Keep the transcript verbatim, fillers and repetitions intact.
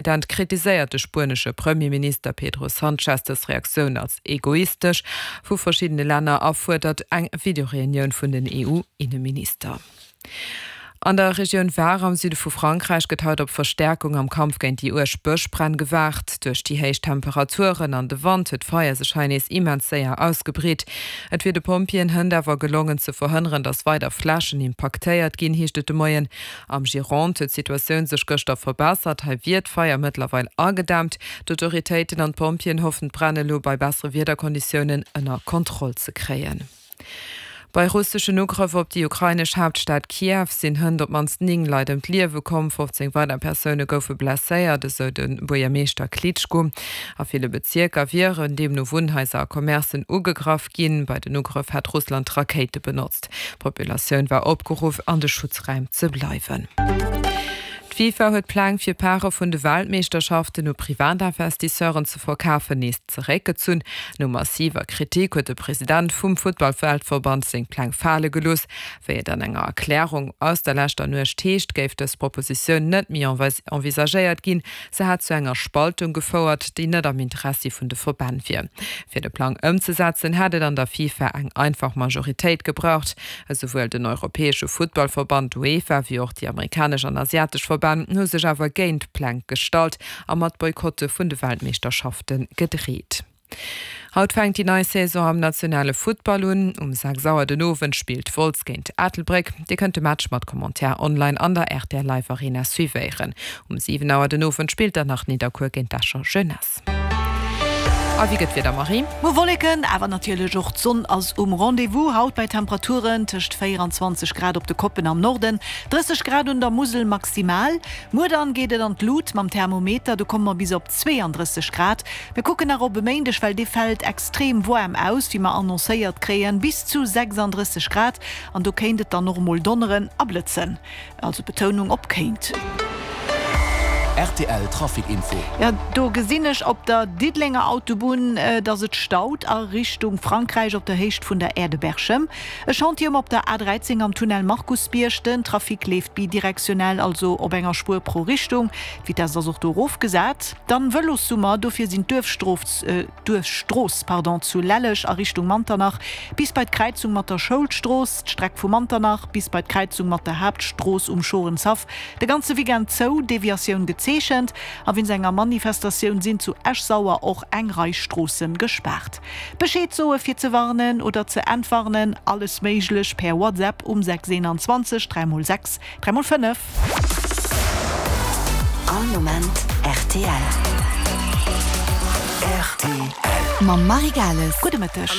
President kritiséiert de spuenesche Premierminister Pedro Sánchez dës Reaktioun als egoistesch vu verschiddene Länner a fuerdert eng Videoreunioun vun den EU-Inneminister. An der Regioun Var am Süde vu Frankräich gëtt haut op Verstäerkung am Kampf géint déi uerg Bëschbränn gewaart. Duerch déi héich Temperaturen an de Wand huet d'Feier sech hei nees immens séier ausgebreet. Et wier de Pompjeeën hënt awer gelongen ze verhënneren, datt weider Flächen impaktéiert ginn, heescht et de Moien. Am Gironde huet d'Situatioun sech gëschter verbessert, hei wier d'Feier mëttlerweil agedämmt. D'Autoritéiten an d'Pompjeeën hoffen d'Bränn elo bei bessere Wiederkonditiounen ënner Kontroll ze kréien. Bei russeschen Ugrëff op déi ukrainesch Haaptstad Kiew sinn hënt op d'mannst néng Leit ëm d'Liewe komm, fofzéng weider Persoune goufe blesséiert, esou de Buergermeeschter Klitschko. A ville Bezierker wieren deemno Wunnhaiser a Commercen ugegraff ginn. Bei den Ugrëff hätt Russland Rakéite benotzt. D'Populatioun war opgeruff, an de Schutzräim ze bleiwen. D'FIFA huet d'Pläng fir Pare vun de Weltmeeschterschaften u Privatinvestisseuren ze verkafen nees zeréckgezunn. No massiver Kritik huet de President vum Futtball-Weltverband seng Pläng fale gelooss. Wéi et an enger Erklärung aus der leschter Nuecht heescht, géif dës Propositioun net méi envisagéiert ginn. Se hätt zu enger Spaltung gefouert, déi net am Interessi vun de Verbänn wier. Fir de Plang ëmzesetzen, hätt et an der FIFA eng einfach Majoritéit gebraucht. Esouwuel den europäesche Futtballverband UEFA wéi och déi amerikanesch an asiatesch Verbänn hu sech awer géint d'Pläng gestallt a mat Boykotte vun de Weltmeeschterschafte gedreet. Haut fänkt déi nei Saison am nationale Futtball un. Um sechs Auer den Owend spillt Wolz géint Ettelbréck. Dir kënnt de Match mat Commentaire online an der rtl Live Arena suivéieren. Um siwen Auer den Owend spillt dann nach Nidderkuer géint d'Escher Jeunesse. A wéi gëtt d'Wieder, Marie? Mol Wolleken, awer natierlech och d'Sonn ass um Rendez-vous. Haut bei Temperaturen tëscht véieranzwanzeg Grad op de Koppen am Norden, drësseg Grad un der Musel maximal. Muer dann geet et an d'Lut mam Thermometer, do komme mer bis op zweeandrësseg Grad. Mir kucken nach op e Méindeg, well dee fält extrem waarm aus, wéi mer annoncéiert kréien, bis zu sechsandrësseg Grad an do kéint et dann och emol donneren a blëtzen. Also Betounung op kéint. Rtl Trafic Info. Jo, do gesinn ech op der Diddelenger Autobunn, dass et staut a Richtung Frankräich op der Héicht vun der Aire de Berchem. E Chantier um op der A dräizéng am Tunnel Markusbierg. Den Trafic leeft bidirektionell, also op enger Spuer pro Richtung. D'Vitesse ass och do erofgesat. Dann Vëlossummer, dofir sinn d'Duerfstrooss, d'Duerfstrooss, pardon, zu Lelleg a Richtung Manternach bis bei d'Kräizung mat der Schoulstrooss, d'Streck vu Manternach bis bei d'Kräizung mat der Haaptstrooss um Schorenshaff de ganze Weekend zou, Deviatioun gezeechent a wéinst enger Manifestatioun sinn zu Esch-Sauer och eng Rei Stroosse gespaart. Bescheed soe fir ze warnen oder ze entwarnen, alles méiglech per WhatsApp um sechs eenanzwanzeg dräi mol sechs dräi mol fënnef. All Moment rtl. Rtl. Mam Marie Gales. Gudde Mëtteg.